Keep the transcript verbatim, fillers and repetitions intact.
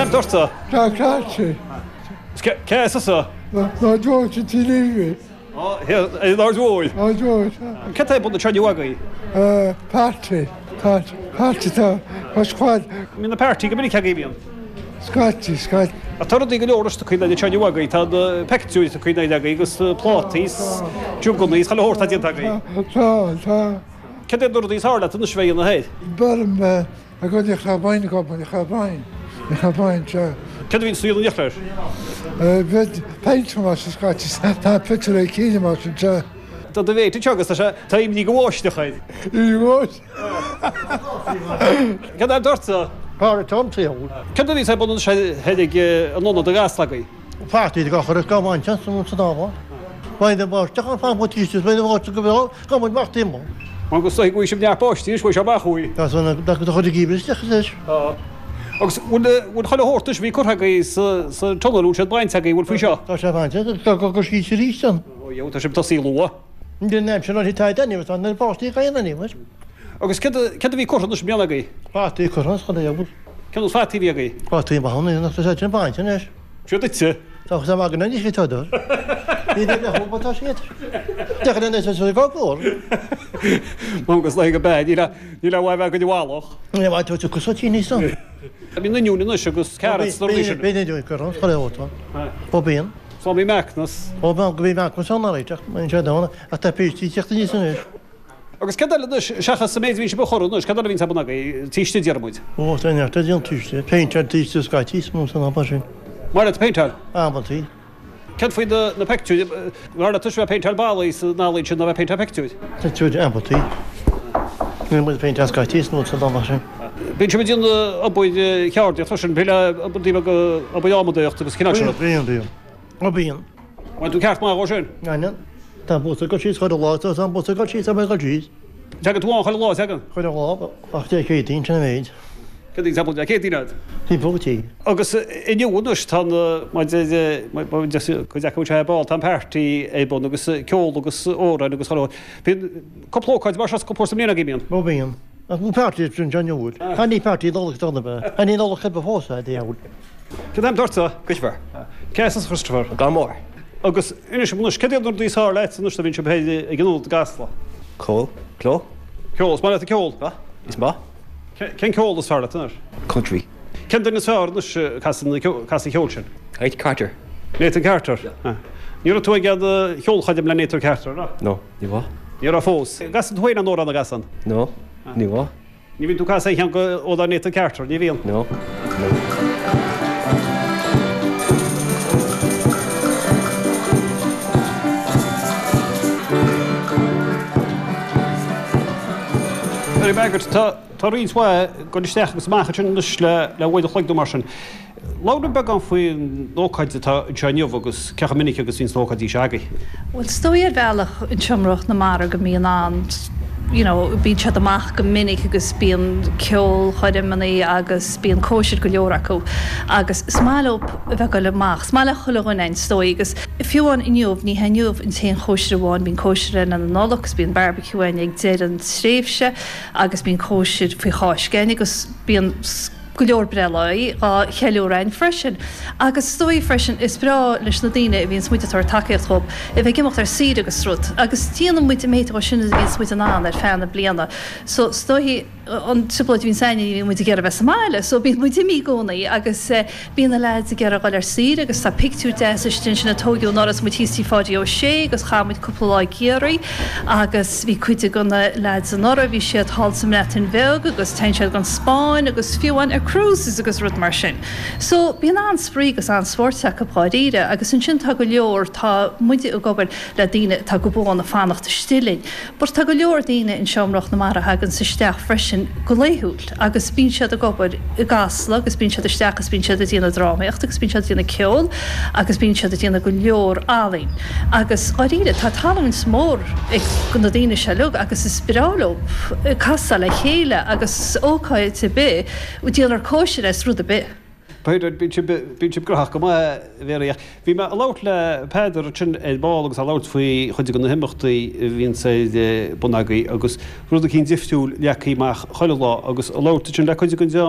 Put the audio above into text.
Cad é dorta? Tá caite. Cé is tusa? Ná dúirt tí líbi. Ar Mhóir. Ná dúirt. Cad é bun seo agaibh? Party. Party tá squad. Bíonn na party go minic agaibh bíonn. Scaití, scaití. A tá rudaí go leor is cuid le seo agaibh tá na pictiúir tá cuid agaibh agus plátaí juganna chuile shórt déanta agaibh. Tá, tá. Cad é na rudaí is fearr leat anois bheith ina thaobh? Berm a go cha bain go cha bain. Cha bain se. Cad a bhíonn suí an leir? Bheith peint mar sa scaití tá pictiúr ag cíine mar sin se. Tá do bhéit agus tá sé tá imní go bháisteach. Í Cad é dorta? Pár Tom tí. Cad a bhí sé bun sé heidig an ionad a gaslagaí? Party go chur go bhain san sa dáma. Bain de báisteach an fá tíiste bain de go go muid mar timmo. Agus go bhfuil sibh neart báistí bhfuil sé amach uaidh. Tá san da go chuid gíbir Tá. Agus bhfuil chuile shórt bhí curtha agaibh sa sa tunnel siad bainte agaibh bhfuil faoi seo? Tá sé bainte tá go go sí rí san. Ó tá sibh tosaí luath. Den nem sin an tá den tá na páistí ga an nímh. Agus cad a bhí curtha na bliana agaibh? Party curtha chun é. Cén fataí bhí agaibh? Party ba honna nach sé sin bainte anois. Seo duitse? Tá sa mag na ní tá dó. Ní le hó tá siad. De na sé go gór. Agus le go be ní ní le bheith go bhálach. Ní bha tú go tí ní san. Bhí na oinniúin agus carrots Bí go chu Ó bíon. So bhí meachnas. Ó go bhí meachnas an réiteach sé dá a tá pítí teachta ní san. Agus cad eile seachas sa méid bhí sé chor anois, cad eile bhíonn bun agaibh tíiste dearmuid. Ó tá neart an túiste, péinteáil tíiste scaití mó san am sin. Mar a péinteáil? Amantaí. Cad faoi na pictiúir mar a tuis bheith péinteáil ballaí sa nálaí sin na bheith péinteáil pictiúir? Pictiúir amantaí. Ní muid péinteáil scaití nó san am sin. Bíonn sé déanamh obair cheardaíocht freisin, bíonn obair obair adhmadaíocht agus cineál sin. Bíonn, bíonn. Ó bíonn. Bhain tú ceart maith ó sin? Baineann. Tá bus go síos chuile lá, tá bus go síos tá go síos. Teagann tú an chuile lá teagann? Chuile lá ach Dé Céadaoin sin an méid. Cad é Dé Céadaoin agat? Timpeall tí. Agus inniu anois tá cuid acu sé ball tá an party ar bun agus ceol agus amhráin agus chuile Bíonn cúpla ócáid mar seo cúpla sa mbliain agaibh bíonn? Ó bíonn. Ach bhí party sin John Newell. Tá ní party Nollag donna be. Tá ní Nollag chuid fós é diabhal. Cad é dorta? Christopher. Cé as Christopher? Gan mór. Agus inis anois cad iad na rudaí is fearr leat anois a bhíonn sibh ag an ionad i gCasla? Ceol. Ceol. Ceol, is maith leat an ceol? Ah, is maith. Cén ceol is fearr leat anois? Country. Cén duine is fearr anois casann casann ceol sin? Nathan Carter. Nathan Carter. Ní raibh tú ag an cheolchoirm le Nathan Carter, no? No, ní bha. Ní raibh fós. Casann tú féin an amhrán a gcasann? No, ní bha. Ní bhíonn tú casadh cheann go ó Nathan Carter, ní bhíonn? No. No. Mary Margaret, tá tá roinnt mhaith go isteach agus amach ansin anois le le uair a chloig nó mar sin. Labhair beagán faoin ócáid atá anseo inniu agus cé chomh minic agus bhíonn na hócáidí seo agaibh. Well, is dóigh ar bhealach in Seomra na Mara go mbíonn an you know, bíonn siad amach go minic agus bíonn ceolchoirmeanna agus bíonn cóisir go leor acu agus is maith leo a bheith ag dul amach. Is maith le chuile dhuine is dóigh agus fiú amháin inniu ní inniu an t-aon chóisir amháin bíonn cóisir na Nollag agus bíonn barbecue ag deireadh an tréimhse agus bíonn cóisir faoi Cháisc agus bíonn go leor breithláí á cheiliúradh freisin. Agus is dóigh freisin is breá leis na daoine a bhíonn muid ag tabhairt tacaíocht dóibh a bheith ag imeacht ar saoire agus rud. Agus déanann muid an méid sin a bhíonn muid in ann ar feadh na bliana. So is dóigh an trioblóid bhíonn againne bhíonn muid ag iarraidh bheith sa mbaile, so bíonn muid imithe i gcónaí agus bíonn na lads ag iarraidh dul ar saoire agus tá pictiúr deas istigh sin a tógadh anuraidh is muid thíos tí Pháidí Ó Sé agus chaith muid cúpla lá i gCiarraí agus bhí cuid de na lads anuraidh bhí siad thall sa mBreatain Bheag agus téann siad go Spáinn agus fiú amháin ar cruises agus rud mar sin. So bíonn an-spraoi agus an-spórt acu dháiríre agus ansin tá go leor tá muid ag obair le daoine atá go buan ag fanacht istigh linn. But tá go leor daoine in Seomra na Mara thagann isteach freisin go laethúil agus bíonn siad ag obair i gCasla agus bíonn siad isteach agus bíonn siad ag déanamh drámaíocht agus bíonn siad ag déanamh ceol agus bíonn siad ag déanamh go leor ealaín. Agus dháiríre tá tallann mór ag na daoine seo uilig agus is breá leo casadh le chéile agus ócáid ar bith déanar cóisir is rud ar bith. B'fhéidir bíonn sibh gnóthach go maith Mary. Bhí mé ag labhairt le Peadar ansin ar ball agus á labhairt faoi chuid de na himeachtaí a bhíonn ar bun agaibh agus rud eicínt difriúil leagtha amach chuile lá agus ag labhairt ansin le cuid den dream